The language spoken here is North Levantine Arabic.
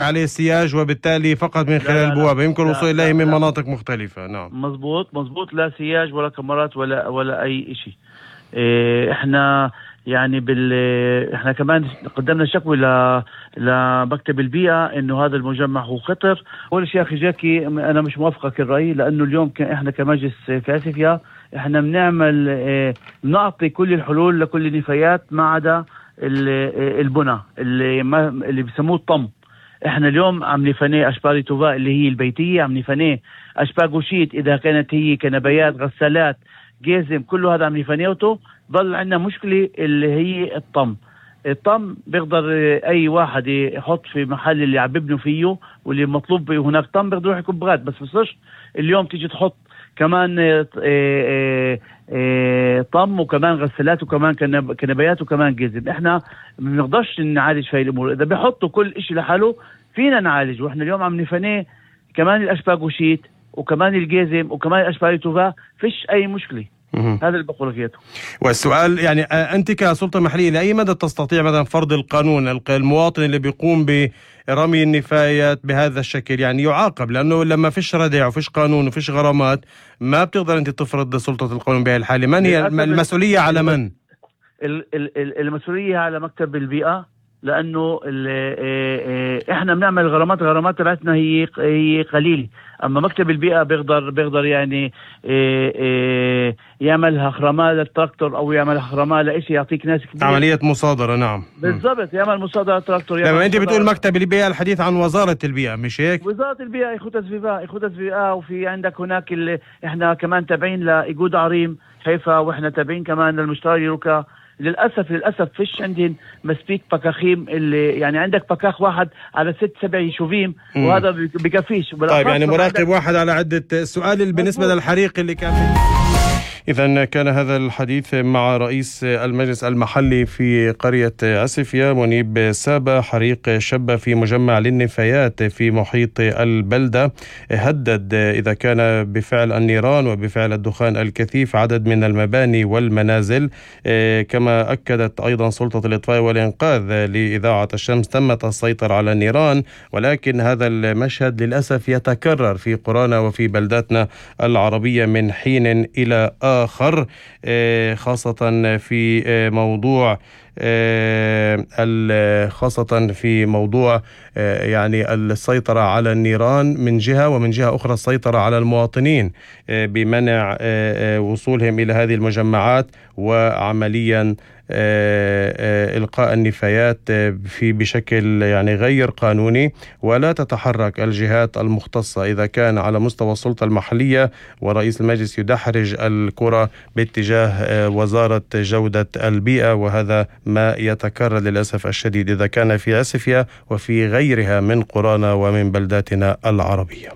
عليه سياج وبالتالي فقط من خلال البوابة يمكن الوصول إليه من مناطق مختلفة. نعم مزبوط، لا سياج ولا كاميرات ولا أي إشي. إحنا يعني إحنا كمان قدمنا شكوى لمكتب البيئة إنه هذا المجمع هو خطر. أول شيء أخي جاكي أنا مش موافقك الرأي، لأنه اليوم إحنا كمجلس كاسفيا إحنا بنعطي كل الحلول لكل النفايات ما عدا البنى اللي بيسموه الطم. احنا اليوم عم نفنيه اشبال توفاء اللي هي البيتية، عم نفنيه اشبال وشيت اذا كانت هي كنبيات غسالات جيزم، كله هذا عم نفنيوته. ضل عندنا مشكلة اللي هي الطم بيقدر اي واحد يحط في محل اللي عم ببنوا فيه واللي مطلوب هناك طم بيقدر يروح يكب بس بصيرش اليوم تيجي تحط كمان طم وكمان غسالات وكمان كنبيات وكمان جزم. احنا ما بنقدرش نعالج في الامور. اذا بيحطوا كل اشي لحاله فينا نعالج، واحنا اليوم عم نفنيه كمان الاشباك وشيت وكمان الجزم وكمان الاشبال توفا، فيش اي مشكله. هذا اللي بقول لك. والسؤال يعني أنت كسلطة محلية لأي مدى تستطيع مثلا فرض القانون؟ المواطن اللي بيقوم برمي النفايات بهذا الشكل يعني يعاقب، لأنه لما فيش ردع وفيش قانون وفيش غرامات ما بتقدر أنت تفرض سلطة القانون بهذه الحالة. من هي المسؤولية؟ على من؟ المسؤولية على مكتب البيئة، لأنه إحنا بنعمل غرامات تبعتنا هي قليلة، أما مكتب البيئة بيقدر يعني يعملها خرماء للتراكتور أو يعملها خرماء لإشي يعطيك ناس كبير. عملية مصادرة. نعم بالضبط، يعمل مصادرة للتراكتور. لما أنت بتقول مكتب البيئة الحديث عن وزارة البيئة مش هيك؟ وزارة البيئة إخوة السفيفاء، وفي عندك هناك اللي إحنا كمان تابعين لإيجود عريم حيفا، وإحنا تابعين كمان للمشتري روكا. للأسف فيش عندهم مسبيك بكاخيم، اللي يعني عندك بكاخ واحد على 6-7 يشوفيم وهذا بكفيش. طيب يعني مراقب واحد على عدة. السؤال بالنسبة للحريق اللي كان إذن كان هذا الحديث مع رئيس المجلس المحلي في قرية عسفية منيب سابا. حريق شب في مجمع للنفايات في محيط البلدة هدد إذا كان بفعل النيران وبفعل الدخان الكثيف عدد من المباني والمنازل. كما أكدت أيضا سلطة الإطفاء والإنقاذ لإذاعة الشمس تمت السيطرة على النيران، ولكن هذا المشهد للأسف يتكرر في قرانا وفي بلداتنا العربية من حين إلى آخر، خاصة في موضوع يعني السيطرة على النيران من جهة، ومن جهة أخرى السيطرة على المواطنين بمنع وصولهم إلى هذه المجمعات وعمليا إلقاء النفايات بشكل يعني غير قانوني. ولا تتحرك الجهات المختصة إذا كان على مستوى السلطة المحلية ورئيس المجلس يدحرج الكرة باتجاه وزارة جودة البيئة، وهذا ما يتكرر للأسف الشديد إذا كان في عسفية وفي غيرها من قرانا ومن بلداتنا العربية.